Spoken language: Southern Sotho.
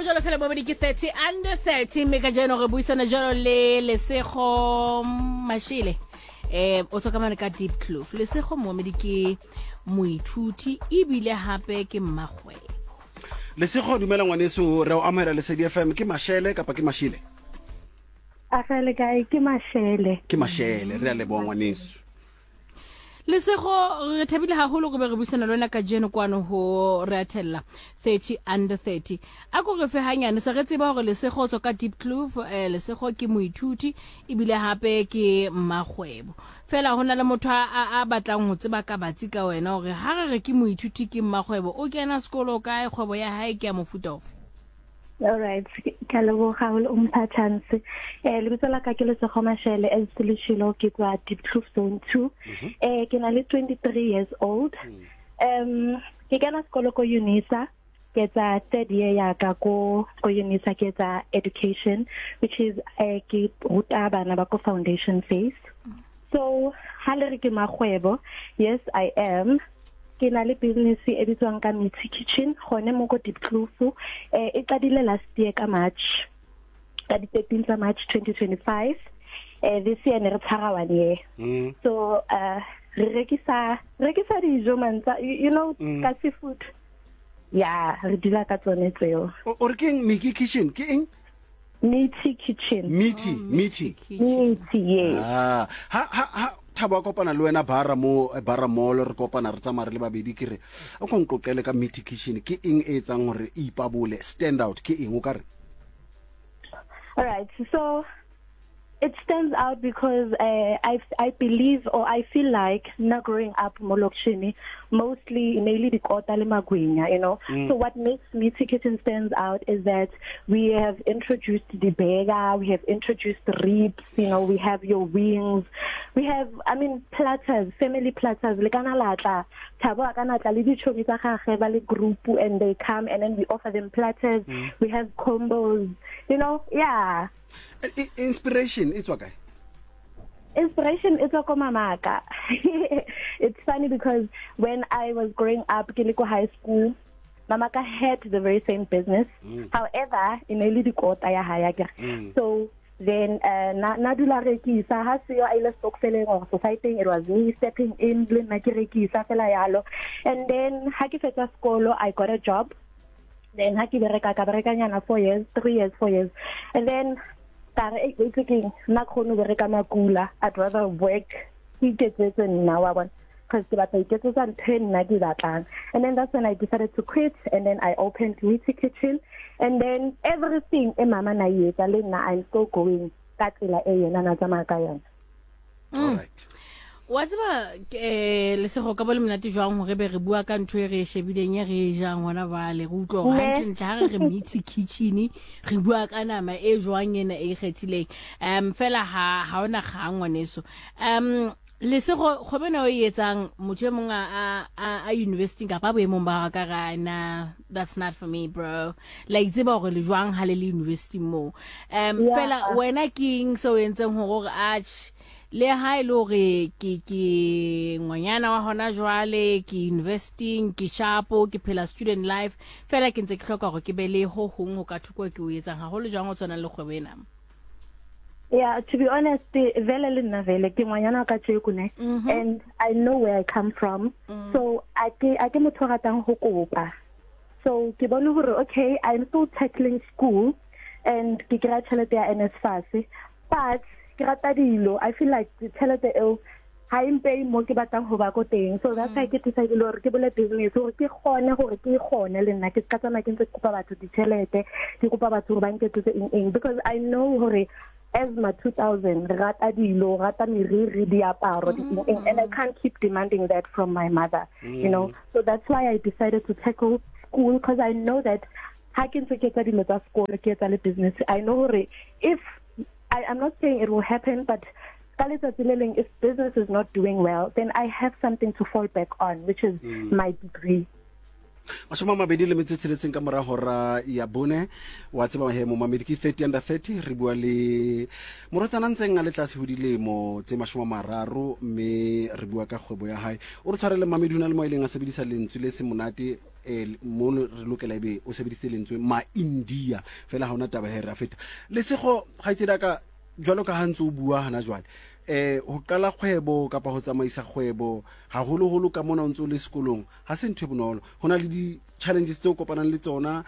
Go jalo fela bobedi ke 30 under 30 mme ka jeno re buisana jalo le Lesego Mashele. O tswa ka mane ka Diepkloof. Lesego moomedi ke moithuti ebile hape ke mmagwebo. Lesego, dumela ngwaneso, re o amohela Lesedi FM. Ke Mashele kapa ke Mashile? A ga le kae? Ke Mashele. Ke Mashele, re a leboha ngwaneso. Lesego, re thabile haholo go be re buisana le wena kajeno kwano ho re athella 30 under 30. A ko re fe hanyane se re tseba hore Lesego o tswa ka Diepkloof, Lesego ke moithuti ebile hape ke mmakgwebo. Fela ho na le motho a batlang ho tseba ka batsi ka wena hore ha re re ke moithuti ke mmakgwebo, o kena sekolo kae, kgwebo ya hae ke ya mofuta ofe? All right, ke a leboga o mpha chance. Lebitso la ka ke Lesego Mashele, as le tshilo ke tswa Diepkloof Zone 2. Ke na le 23 years old. Ke kena sekolo ko UNISA, ke etsa third year ya ka ko UNISA, ke etsa education, which is ke ruta bana ba ko foundation phase. So ha le re ke makgwebo, yes I am. Ke na le business e bitswang ka Mitsi Kitchen gone mo ko Diepkloof. E qadile last year ka March, ka di 13 tsa March 2025. This year ne re tshwara 1 year. So re rekisa dijo mantsa, you know, ka seafood. Ya, re dula ka tsone tseo. O re keng Mitsi Kitchen ke eng? Mitsi Kitchen. Mitsi, Oh, Mitsi. Mitsi, yes. Ha, ha, ha, Thabo a kopana le wena bara mo, bara mall, re kopana re tsamaya re le babedi, ke re, o ko nqoqele ka Mitsi Kitchen, ke eng e etsang hore e ipabole, stand out, ke eng o ka re? All right, so it stands out because I believe or I feel like now growing up mo lokishini, mostly mainly dikota le magwinya, you know. So what makes Mitsi Kitchen stands out is that we have introduced the burger, we have introduced ribs, you know, we have your wings, we have, I mean, platters, family platters. Le kana la tla, Thabo a kana tla le dichomi tsa gagwe ba le group, and they come and then we offer them platters. We have combos, you know, yeah. Inspiration e tswa kae? Inspiration e tswa ko mamaka. It's funny because when I was growing up, ke le ko high school, mamaka had the very same business. However, e ne le dikota ya hae, akere. So then na dula rekisa ha seo a ile stokfeleng or society, it was me stepping in le nna ke rekisa fela yalo. And then ha ke fetsa sekolo, I got a job. Then ha ke bereka, ka bereka nyana 4 years, 3 years, 4 years. And then ka re, hey, wait, ke nna kgone ho bereka makula. I'd rather work ke iketsetse nna, wa bona, because ke batla iketsetsa ntho e nna ke batlang. And then that's when I decided to quit, and then I opened Mitsi Kitchen, and then everything e mama na e etsa le nna, I'm still going ka tsela e yena na tsamaya ka yona. All right. Wa tseba, Lesego, ka bo le monate jwang hore be re bua ka ntho e re e shebileng e re e jang hona jwale, re utlwa hore hantlentle ha re re Mitsi Kitchen re bua ka nama e jwang ena e ikgethileng. Fela ha ona kgang ngwaneso. Lesego, kgwebo ena o e etsang, motho e mong a university kapa boemong ba ka ra na, that's not for me bro. La itseba hore le jwang ha le le university moo. Fela wena ke eng seo entseng hore o re atjhe, le ha e le hore ke ngwanyana wa hona jwale, ke university, ke sharpo, ke phela student life, fela ke ntse ke hloka hore ke be le ho hong ho ka thoko ke o etsang haholo jwang o tshwanang le kgwebo ena? Yeah, to be honest, vele le nna vele ke ngwanyana ka tjeko ne, and I know where I come from. So a ke motho o ratang ho kopa. So ke bone hore okay, I'm still tackling school and ke kry-a tjhelete ya NSFAS, but ke rata dilo. I feel like tjhelete eo ha e mpeye mo ke batlang ho ba ko teng. So that's why ke decide hore ke bule business hore ke kgone hore ke kgone le nna ke ska tsamaya ke ntse ke kopa batho ditjhelete, ke kopa batho hore ba nketsetse eng eng, because I know hore as ma 2000 re rata dilo, re rata meriri, diaparo, di eng eng, and I can't keep demanding that from my mother, you know. So that's why I decided to tackle school, because I know that ha ke ntse ke etsa dilo tsa sekolo, ke etsa le business, I know hore if I, I'm not saying it will happen, but ka letsatsi le leng, if business is not doing well, then I have something to fall back on, which is my degree. 26 ka mora hora ya bone. Wa tseba he momamedi, ke 30 under 30. Re bua le morwetsana ntseng a le tlase ho dilemo tse 30, mme re bua ka kgwebo ya hae. O re tshwarele mamedi, ho na le mo a ileng a sebedisa lentswe le se monate mo re lokela ebe o sebedisitse lentswe ma-India, fela ha ona taba he, re a feta. Lesego kgaitsedi ka jwalo ka ha ntse o bua hana jwale, ho qala kgwebo kapa ho tsamaisa kgwebo haholoholo ka mona o ntse o le sekolong ha se ntho e bonolo. Ho na le di-challenges tseo kopanang le tsona.